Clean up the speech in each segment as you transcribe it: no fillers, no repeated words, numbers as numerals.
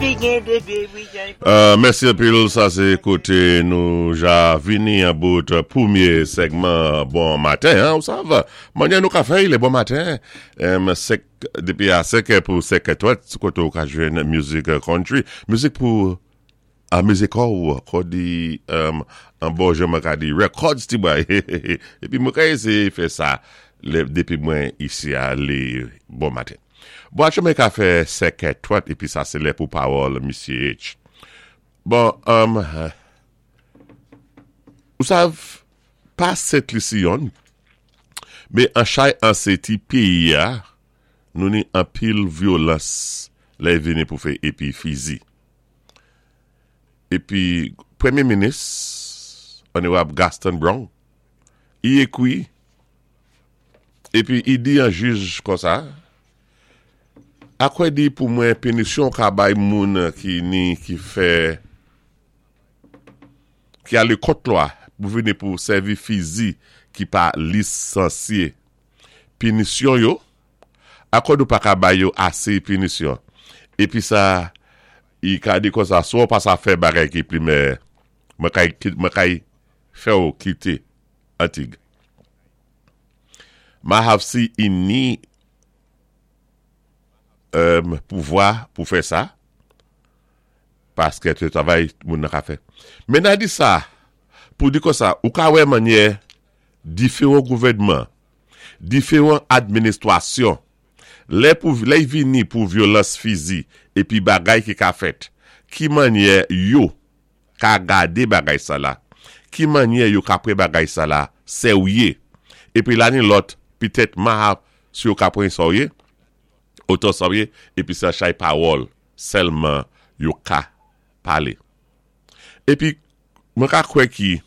Mèsi anpil sa se kote nou ja vini an bout premye sègman bon maten an ou sav manyè nou ka fè le bon maten 5 depi a 5 è pou 5 è 30 kote ou ka jwenn mizik country mizik pou amize kò ou kò di an bon jan mwen ka di records ti bway epi mwen ka eseye fè sa lè depi mwen isi a le bon maten. Bon achemen ka fè 5 è 30 epi sa se lè pou pawòl misye H. Bon ou sav pa Sent Lisi yonn men an chay an se ti peyi a nou ni anpil vyolans lè vini pou fè epi fizi. Epi premye minis Onorab Gaston Brown i ekwi epi i di an jij konsa, Akwè di pou mwen pinisyon w ka bay moun ki ni ki fè ki ale kont lwa pou vini pou sèvi fizi ki pa lisansye pinisyon yo Akò nou pa ka bay yo ase pinisyon. Epi sa i ka di konsa si w pa sa fè bagay ki plimè mwen kay mwen kay fè w kite Antig. Ma have si i ni pouvwa pou fè sa paske se travay moun nan ka fè. Men na di sa pou di konsa ou ka wè manyè diferan gouvènman Diferan administwasyon, lè pou lè y vini pou vyolans fizi epi bagay ki ka fèt, ki mannyè yo ka gade bagay sa la, ki mannyè yo ka pre bagay sa la sèwye, epi la ni lòt pitèt ma si yo ka pran sòwye, otan sòwye epi sa chay pawòl sèlman yo ka pale. Epi mwen ka kwè ki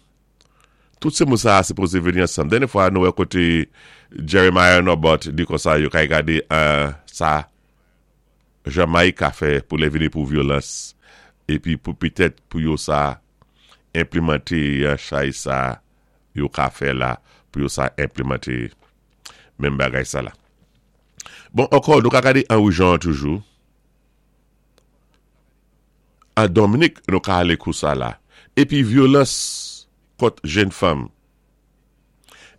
Tout se moun sa a sipoze vini ansanm. Dènye fwa nou wè kote Jeremiah Norbert di konsa yo kay gade sa Jamayik ka fè pou lè vini pou vyolans epi pou petèt pou yo sa enplimante chay sa yo ka fè la pou yo sa enplimante menm bagay sa la. Bon ankò nou ka gade Henry Jean toujou. An Dominik nou ka ale kou sa la. Epi vyolans kont jenn fanm.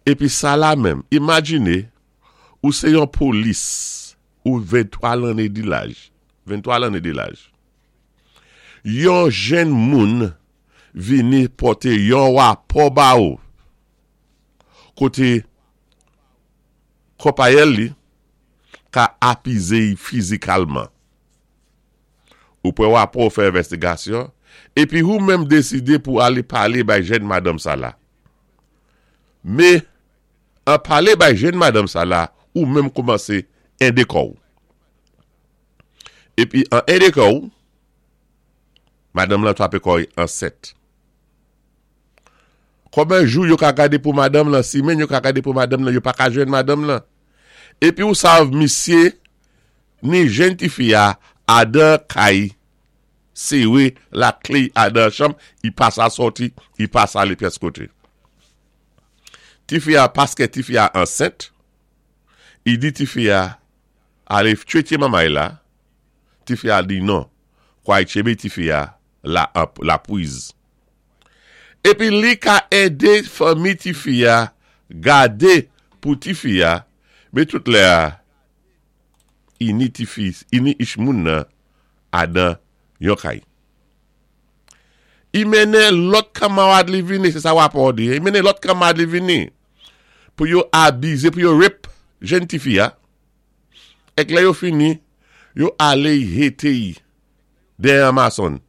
Epi sa la menm, imajine ou se yon polis ou 23 lanne di laj, 23 lanne de laj. Yon jenn moun vini pote yon rapò ba ou kote konpayèl li ka apize y fizikalman. Ou pran rapò ou fè envèstigasyon, epi ou menm deside pou ale pale bay jèn madanm sa la. Me, an pale bay jèn madanm sa la, ou menm koumanse ende kò ou. Epi an ende kò ou, madanm lan trape kò y ansent. Konben jou yo ka gade pou madanm lan, simenn yo ka gade pou madanm lan, yo pa ka jwenn madanm lan. Epi ou sav misye Ni jenn tifi a adan kay sere la kle adan chanm i pa sa sòti i pa sa ale pyès kote. Tifi a paske tifi a ansent i di tifi a ale tchwetye manmay la tifi a di non kway tchebe tifi a la la pwiz. Epi li ka ede fanmi tifi a gade pou tifi a men tout lè a ini tifi ini ich moun nan adan yon kay. I mennen lòt kanmarad li vini, se sa rapò di, i mennen lòt kanmarad li vini pou yo abize, pou yo rape jenn tifi a. Ek lè yo fini, yo ale y hete y dèyè an mason.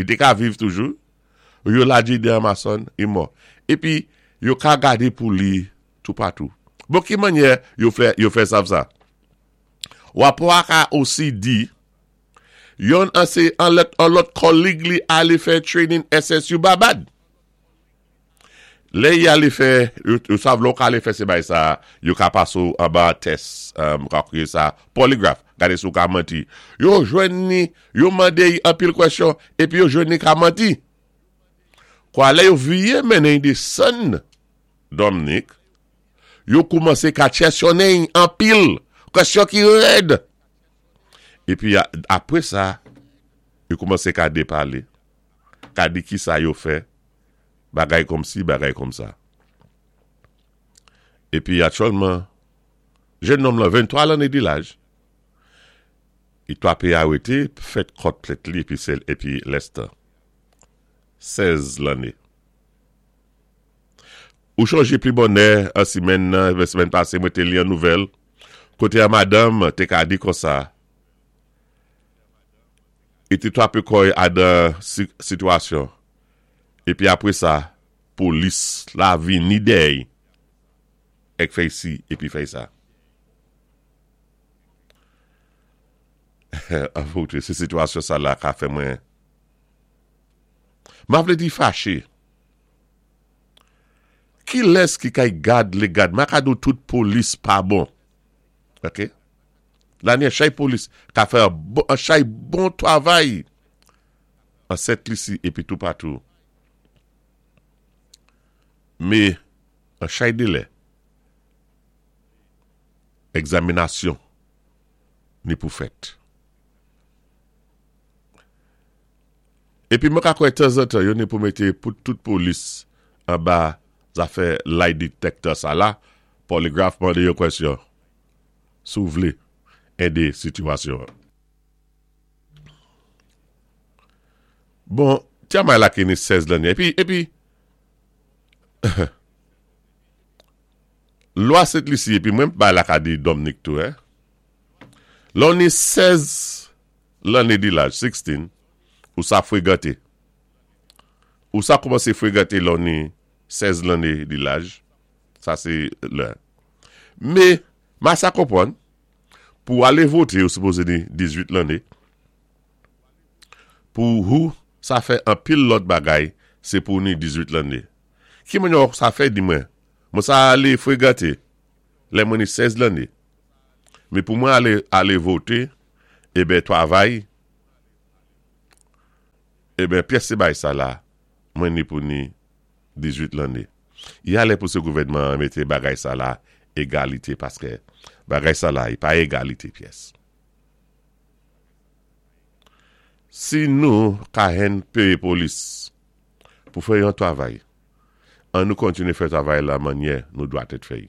Li te ka viv toujou, yo lage y dèyè an mason, i mò. Epi yo ka gade pou li toupatou. Bon ki mannyè yo fè yo fè sav sa? Rapò a ka osi di yonn an se an lòt an lòt kòlig li ale fè training SSU Babad. Lè y ale fè yo sav lè w ka ale fè se bay sa yo ka pase w anba tès ka kriye sa polygraph gade si w ka manti. Yo jwenn ni yo mande y anpil kwèsyon epi yo jwenn ni ka manti. Kwa lè yo viye mennen y desann Dominique, yo koumanse ka chèsyonnen y anpil kwèsyon ki rèd. Epi apre sa. Yo koumansé ka dépalé, ka di kisa yo fè, bagay kòmsi, bagay kòmsa. Épi aktyèlman, jennonm lan 23 lanné di laj, i twapé arété, fèt kòt plent li épi se épi lèstan. 16 lanné. Ou chonjé pi bonnè an simèn nan, simèn pasé mwen té li an nouvèl, koté an madanm té ka di konsa, I té twapé kò-y adan sitiyasyon, épi apwé sa, polis la vini dèy èk fèy si épi fèy sa. Anverite, sé sitiyasyon sa la ka fè mwen, ma vlé di faché. Kilès ki kay gad lé gad? Ma ka di-w tout polis pa bon. Ok. La ni an chay polis ka fè an chay bon travay an Sent Lisi epi toupatou. Me an chay delè egzaminasyon ni pou fèt. Epi mwen ka kwè tanzantan yo ni pou mete pou tout polis anba zafè lie detector sa la, polygraph mande yo kwèsyon. Si w vle ede sitiyasyon an. Bon, ti amay la ki ni 16 lanne. Epi, epi, lwa Sent Lisi, epi mwen bay la ka di Dominique tou, hein. Lè w ni 16 lanne di laj, 16, ou sa fregante. Ou sa koumanse fregante lè w ni 16 lanne di laj. Sa se lè. Me, ma sa konpwann, pou ale vote ou sipoze ni 18 lanne. Pou hou sa fè anpil lòt bagay se pou ni 18 lanne. Ki manyè ou sa fè di mwen? Mwen sa ale fregante lè mwen ni 16 lanne. Me pou mwen ale ale vote, eben twavay, eben pyès se bay sa la, mwen ni pou ni 18 lanne. Yalè pou se gouvènman an mete bagay sa la egalite paske bagay sa la i pa egalite pyès. Si nou ka henn peye polis pou fè yon travay an nou kontinye fè travay la mannyè nou dwatet fè i.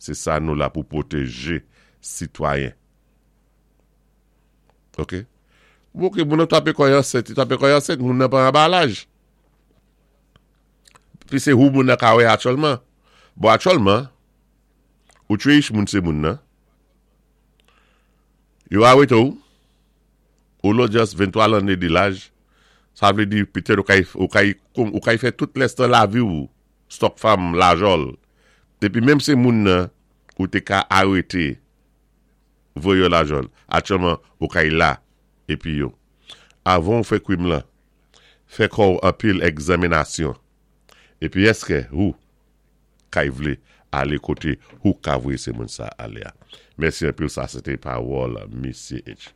Se sa nou la pou pwoteje sitwayen. Ok. Bon ok moun nan trape kò y ansent, li trape kò y ansent moun nan pa anba laj. Pi se hou moun nan ka wè aktyèlman. Bon aktyèlman, ou tue ich moun se moun nan. Yo arete ou, ou lodyans 23 lanne di laj, sa vle di petèt ou kay ou kay ou kay fè tout lèstan lavi ou stòk fanm lajòl. Epi menm se moun nan ou te ka arete voye yo lajòl. Aktyèlman ou kay la epi yo. Avan ou fè krim lan, Fè kò w anpil egzaminasyon. Epi èske hou kay vle ale kote hou ka voye se moun sa ale a. Mèsi anpil sa se te pawòl Misye H.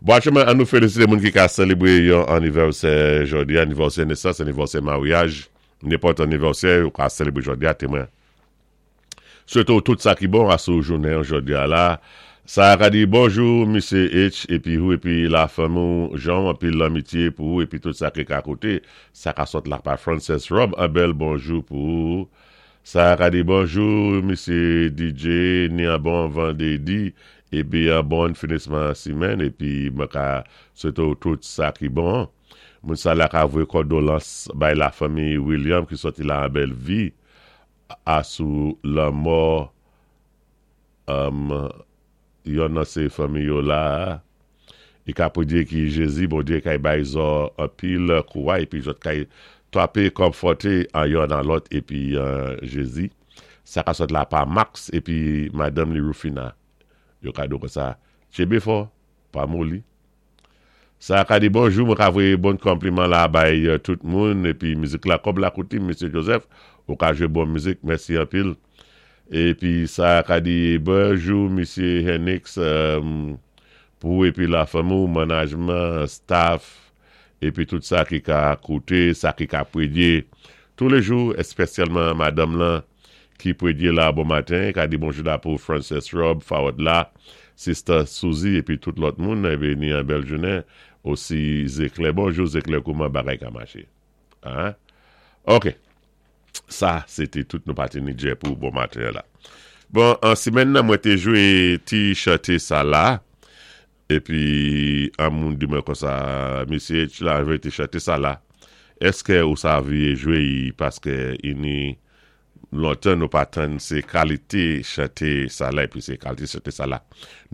Bon aktyèlman an nou felisite moun ki ka selebre yon anivèsè jodi a, anivèsè nesans, anivèsè maryaj, nenpòt anivèsè ou ka selebre jodi a te mwen Swete w tout sa ki bon asou jounen jodi a la. Sa ka di bonjou Misye H epi hou epi la fanmi w Jan w anpil lanmitye pou ou epi tout sa ki ka koute sa ka sot la pa Frances Rob an bèl bonjou pou ou. Sa ka di bonjou Misye DJ ni an bon vandedi epi an bon finisman simèn epi mwen ka swete w tout sa ki bon. Moun sa la ka voye kòdolans bay la fanmi William ki soti la an bèl vi. A sou lanmò yon nan se fanmi yo la a i ka pwedye ki Jezi Bondye kay bay zò anpil kouray epi zòt kay twape konfòte an yon nan lòt epi Jezi sa ka sòt la pa Max epi madanm li Rufina yo ka do konsa tchebe fò pa moli. Sa ka di bonjou mwen ka voye bon konpliman la bay tout moun epi mizik la kòb la koutim mesye Joseph ou ka jwe bon mizik mèsi anpil epi sa ka di bonjou mesye Henix pou epi la fanmi w manajman staff epi tout sa ki ka koute sa ki ka predye toulejou espesyalman madanm lan ki predye la bon maten ka di bonjou la pou Frances Rob Fawad la. Sista Suzy épi tout lòt moun épi ni an bèl jounen osi Zeklè bonjou Zeklè kouman bagay ka maché ah ok sa sé té tout nou pati ni djè pou bon maten an la bon an simèn nan mwen té jwé ti chanté sa la épi an moun di mwen konsa mesye la jwé ti chanté sa la èskè ou sa vyé jwé y paskè ini Lontan nou pa tann se kalite chante sa la epi se kalite chante sa la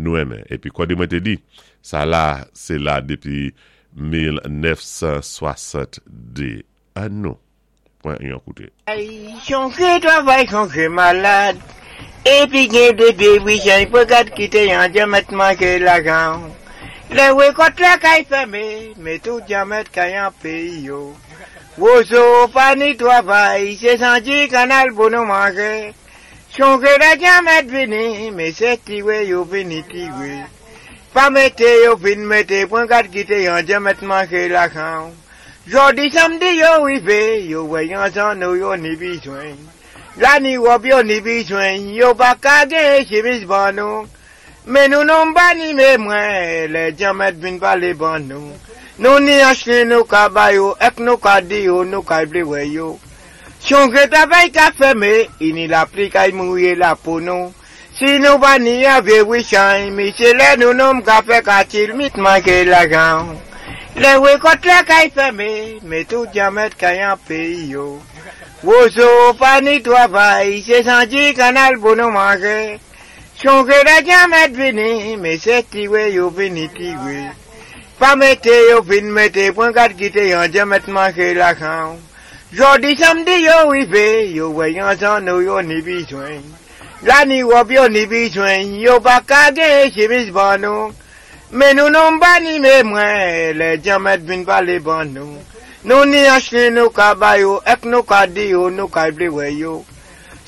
nou renmen. Epi kòde mwen te di, sa la se la depi 1962. An nou pran yon koute. Chonje travay chonje malad epi gen de vye wichany pou gad kite yon dyanmèt manje lajan lè rekòt la kay fème men tou dyanmèt kay an peyi yo. Wozo pa ni travay, sé santi kannal pou nou manjé. Chonjé lè Dyanmèt vini, men sé tiwé yo vini tiwé. Pa mété yo vin mété pwen gad kité yon Dyanmèt manjé lajan. Jòdi samdi yo rivé, yo wè yon zanno yo ni bizwen. La ni wòb yo ni bizwen, yo pa ka gen chimiz ban nou. Men nou non ba ni me mwen, lè Dyanmèt vin palé ban nou. Nou ni anchnen nou ka ba yo, èk nou ka di yo nou kay vlé wè yo. Chonjé travay ka fème, ini lapli kay mouyé lapo nou. Si nou pa ni an vye wichany, misye lè nou nonm ka fè katil mit manjé lajan. Lè rekòt la kay fème, men tou Dyanmèt kay an peyi yo. Wozo pa ni travay, sé santi kannal pou nou manjé. Chonjé lè Dyanmèt vini, men sé tiwé yo vini tiwé. Pa mété yo vin mété pwen gad kité yon Dyanmèt manjé lajan. Jòdi samdi yo rivé, yo wè yon zanno yo ni bizwen. La ni wòb yo ni bizwen, yo pa ka gen chimiz ban nou. Men nou non ba ni mé mwen, lè Dyanmèt vin palé ban nou. Nou ni anchnen nou ka ba yo, èk nou ka di yo nou kay vlé wè yo.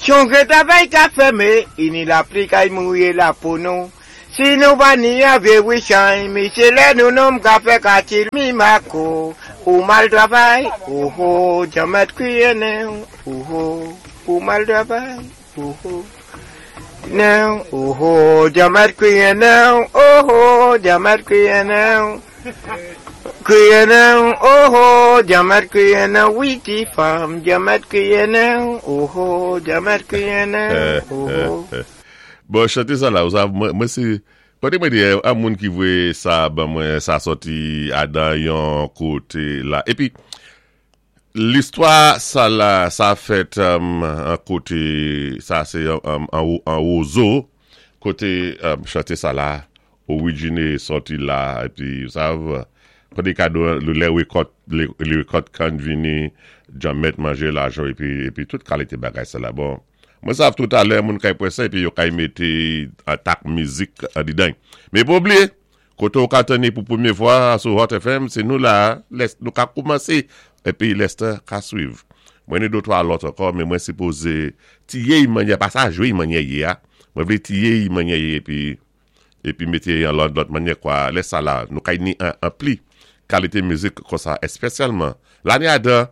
Chonjé travay ka fème, ini lapli kay mouyé lapo nou. Si nou pa ni an vye wichany, misye lè nou nonm ka fè katil mi mako. Ou mal travay, oho, Dyanmèt kriye nen, oho, ou mal travay, oho. Nen, oho, Dyanmèt kriye nen, oho, Dyanmèt kriye nen. Kriye nen, oho, Dyanmèt kriye nen, wi ti fanm, Dyanmèt kriye nen, oho, Dyanmèt kriye nen, oho. Bon chante sa la ou sa mwen se kote mwen te ye a moun ki voye sa ban mwen sa sòti adan yon kote la epi listwa sa la sa fèt an kote sa se an wozo kote chante sa la Orijine sòti la epi ou sav kote kado an lè rekòt lè rekòt kann vini djanmèt manje lajan epi epi tout kalite bagay sa la bon mwen sav toutalè moun kay pran sa epi yo kay mete atak mizik andidan men pa bliye kote ou ka tande pou premye fwa sou Hot FM se nou la lè nou ka koumanse epi lèstan ka swiv mwen ni de twa lòt ankò men mwen sipoze tiye y manyè pa sa jwe y manyè ye a mwen vle tiye y manyè ye epi epi mete yon lòt lòt manyè kwa lè sa la nou kay ni an anpli kalite mizik konsa espesyalman lane adan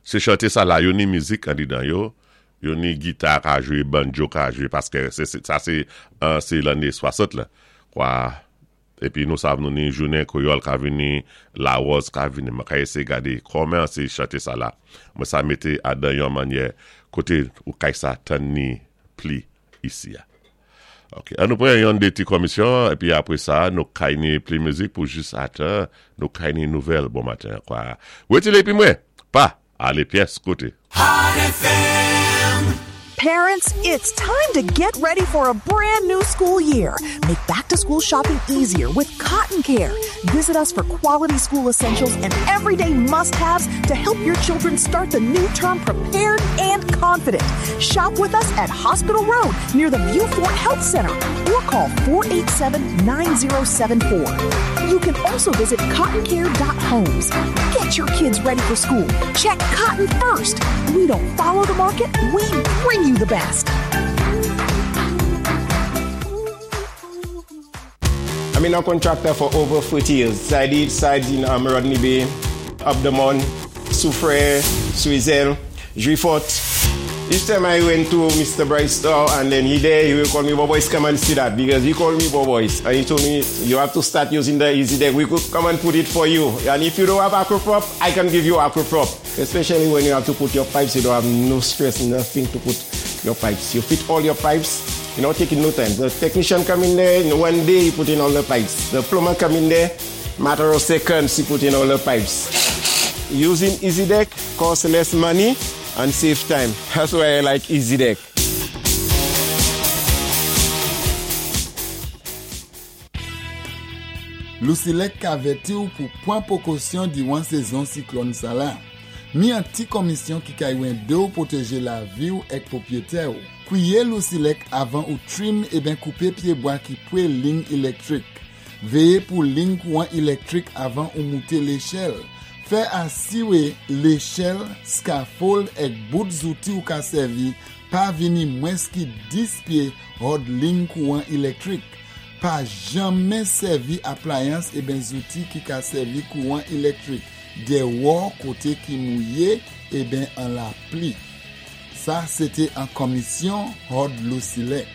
se chante sa la yo ni mizik andedan yo yo ni gita ka jwe bandjo ka jwe paske se sa se se lane 60 la kwa epi nou sav nou ni jounen kreyòl ka vini lawòz ka vini mwen ka eseye gade kòman se chante sa la mwen sa mete adan yon manyè kote ou kay sa tann ni pli isi a. Ok, an nou pran yon de ti komisyon, epi apre sa, nou kay ni pli mizik pou jis atan, nou kay ni nouvèl bon maten kwa. Wetile epi mwen, pa ale pyès kote. Hot FM. Parents, it's time to get ready for a brand new school year. Make back to school shopping easier with Cotton Care. Visit us for quality school essentials and everyday must haves to help your children start the new term prepared and confident. Shop with us at Hospital Road near the Viewfort Health Center or call 487 9074. You can also visit cottoncare.homes. Get your kids ready for school. Check cotton first. We don't follow the market, we bring you the best. I've been a contractor for over 40 years. I did sites in um, Rodney Bay, Up the Mon, Soufrière, Suizel, Juifort. Each time I went to Mr. Bryce store and then he there, he will call me, Boboys, come and see that because he called me Boboys. And he told me, you have to start using the Easy Deck. We could come and put it for you. And if you don't have Aquaprop, I can give you Aquaprop. Especially when you have to put your pipes, you don't have no stress, nothing to put your pipes. You fit all your pipes, you know, taking no time. The technician come in there, in one day he put in all the pipes. The plumber come in there, matter of seconds he put in all the pipes. Using Easy Deck costs less money and save time. That's why I like Easy Deck. Lusilek ka avèti ou pou pwan pwékosyon diwan sézon siklòn sala. Mi an ti konmisyon ki kay wende ou pwotéjé lavi ou èk pwopwéyétè ou. Kwiyé Lusilek avan ou trim eben koupé pyébwa ki pwé ling ilektrik. Véyé pou ling kouwan ilektrik avan ou mouté léchèl. Fè asiwé léchèl, scaffold èk bout zouti ou ka sèvi pa vini mwens ki 10 pyé hòd ling kouwan ilektrik. Pa janmen sèvi aplayans eben zouti ki ka sèvi kouwan ilektrik dèwò koté ki mouyé eben an lapli. Sa sété an konmisyon hòd Lusilek.